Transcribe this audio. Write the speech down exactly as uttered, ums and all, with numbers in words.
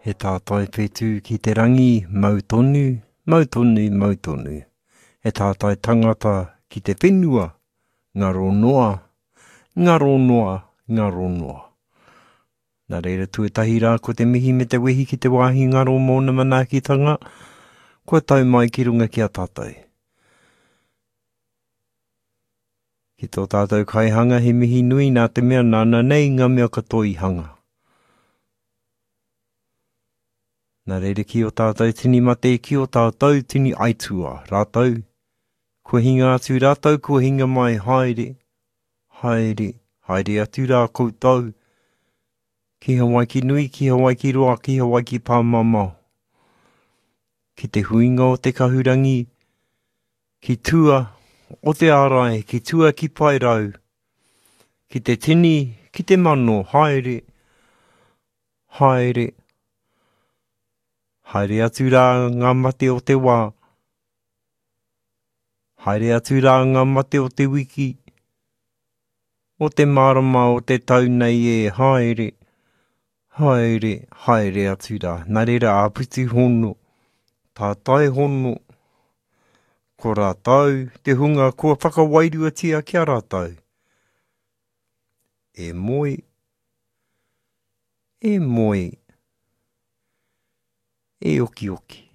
He tātai whetū ki te rangi, mau tonu, mau tonu, mau tonu. He tātai tangata ki te whenua, ngaro noa, ngaro noa, ngaro noa. Nā reira tuatahi rā ko te mihi me te wehi ki te wāhi ngaro mōna manaakitanga, kua tau mai ki runga ki a tātou. Ki tō tātou kaihanga he mihi nui nā te mea nāna nei ngā mea katoa i hanga. Nā reira ki o tātou tini mate, ki o tātou tini aitua, rātou, kua hinga atu rātou, kua hinga mai, haere, haere, haere atu rā koutou, ki Hawaiki nui, ki Hawaiki roa, ki Hawaiki pāmamao. Ki te huinga o te kahurangi, ki tua o te ārai, ki tua ki Paerau, ki te tini, ki te mano, haere, haere, haere atu rā ngā mate o te wā, haere atu rā ngā mate o te wiki, o te marama o te tau nei e, haere, haere, haere atu rā. Nā reira āpiti hono, tātai hono, ko rātou, te hunga kua whakawairuatia ki a rātou. E moe, e moe, e okioki.